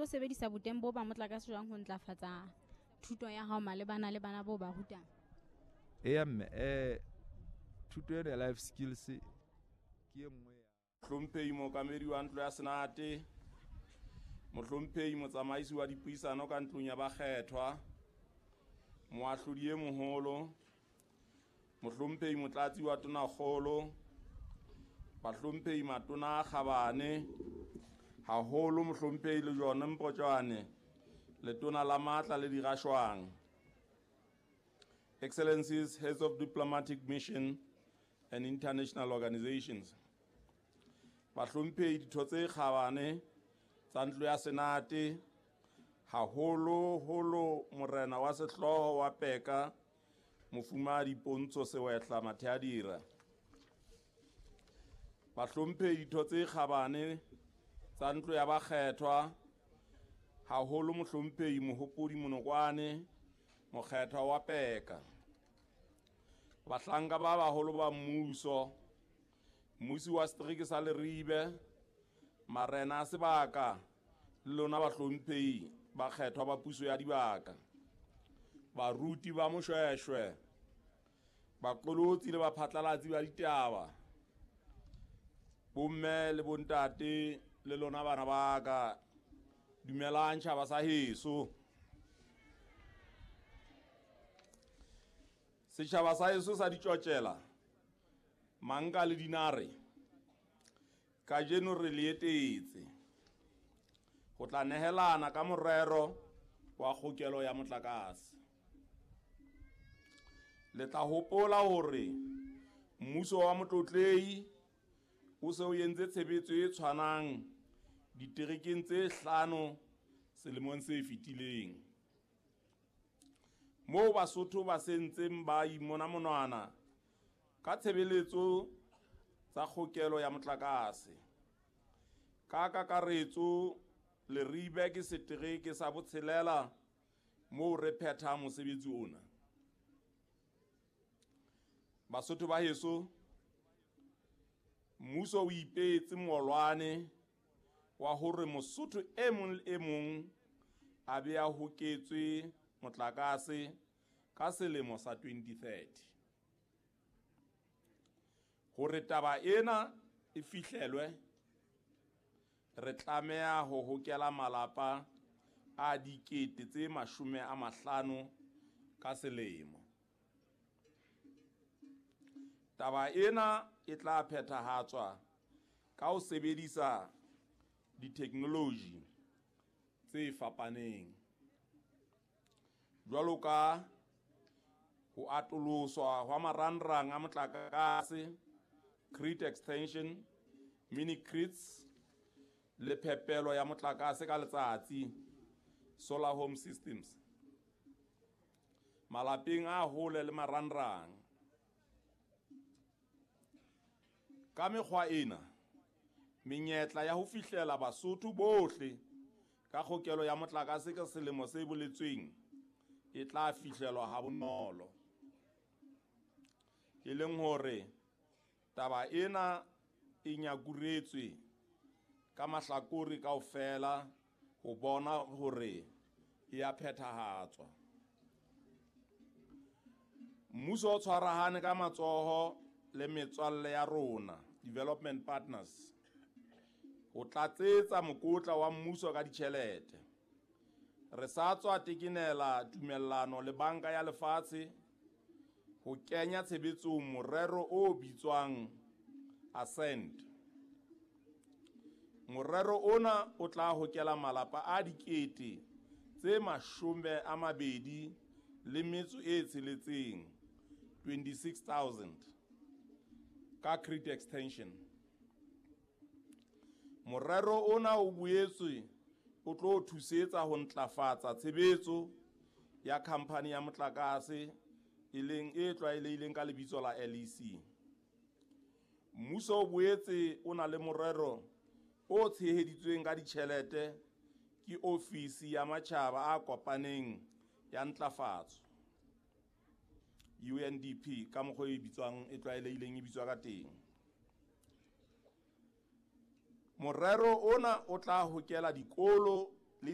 sebedisa boteng bo ba motlakase jwang ho ntlafatsa thuto ya hao malebana le bana bo ba rutang? Eya mme, thuto ena ya life skills ke e nngwe ya Mohlomphehi Mookamedi wa Ntlo ya Senate, Mohlomphehi Motsamaisi wa Dipuisano ka Ntlong ya Bakgethwa, Moahlodi e Moholo, Mohlomphehi Motlatsi wa Tonakgolo, Bahlomphehi Matona a Kgabane, haholo Mohlomphehi Lejone Mpotjwane, Letona la Matla le Dirashwang. Excellencies, Heads of Diplomatic Mission and International Organizations. Bahlomphehi ditho tse kgabane tsa Ntlo ya Senate, haholo holo Morena wa Sehlooho wa Peka, Mofumahadi Pontsho Sewehla Matheadira. Bahlomphehi ditho tse kgabane tsa Ntlo ya Bakgethwa, haholo Mohlomphehi Mohopodi Monokwane, Mokgethwa wa Peka. Bahlanka ba baholo ba mmuso, mmusi wa setereke sa Leribe, marena a sebaka le lona bahlomphehi bakgethwa ba puso ya dibaka, baruti ba Moshweshwe, baqolotsi le baphatlalatsi ba ditaba, bomme le bontate le lona bana ba ka, dumelang tjhaba sa heso. Setjhaba sa heso sa ditjotjela, manka le dinare, kajeno re le etetse ho tla nehelana ka morero wa kgokelo ya motlakase. Le tla hopola hore mmuso wa Motlotlehi o se o entse tshebetso e tshwanang diterekeng tse 5 selemong se fetileng, moo Basotho ba sentseng ba imona monwana ka tshebeletso tsa kgokelo ya motlakase. Ka kakaretso, Leribe ke setereke sa botshelela moo re phethang mosebetsi ona. Basotho ba heso, mmuso o ipeetse molwane wa hore Mosotho e mong le e mong a be a hoketswe motlakase ka selemo sa 2030. Hore taba ena e fihlelwe, re tlameha ho hokela malapa a 50,000 ka selemo. Taba ena e tla phethahatswa ka ho sebedisa ditheknoloji tse fapaneng, jwalo ka ho atoloswa hwa marangrang a motlakase, grid extension, mini grids, le phepelo ya motlakase ka letsatsi, solar home systems, malapeng a hole le marangrang. Ka mekgwa ena, menyetla ya ho fihlela Basotho bohle ka kgokelo ya motlakase ka selemo se boletsweng e tla fihlelwa ha bonolo. E leng hore taba ena e nyakuretswe ka mahlakore kaofela ho bona hore e a phethahatswa. Mmuso o tshwarahane ka matsoho le metswalle ya rona, development partners, ho tlatsetsa mokotla wa mmuso ka ditjhelete. Re sa tswa tekenela tumellano le Banka ya Lefatshe ho kenya tshebetsong morero o bitswang Ascend. Morero ona o tla hokela malapa a 26,000, 26,000 ka grid extension. Morero ona o boetse o tlo thusetsa ho ntlafatsa tshebetso ya khampani ya motlakase e leng e tlwaelehileng ka lebitso la LEC. Mmuso o boetse o na le morero o tsheheditsweng ka ditjhelete ke Ofisi ya Matjhaba a Kopaneng ya Ntlafatso, UNDP, ka mokgwa e bitswang e tlwaelehileng e bitswa ka teng. Morero ona o tla hokela dikolo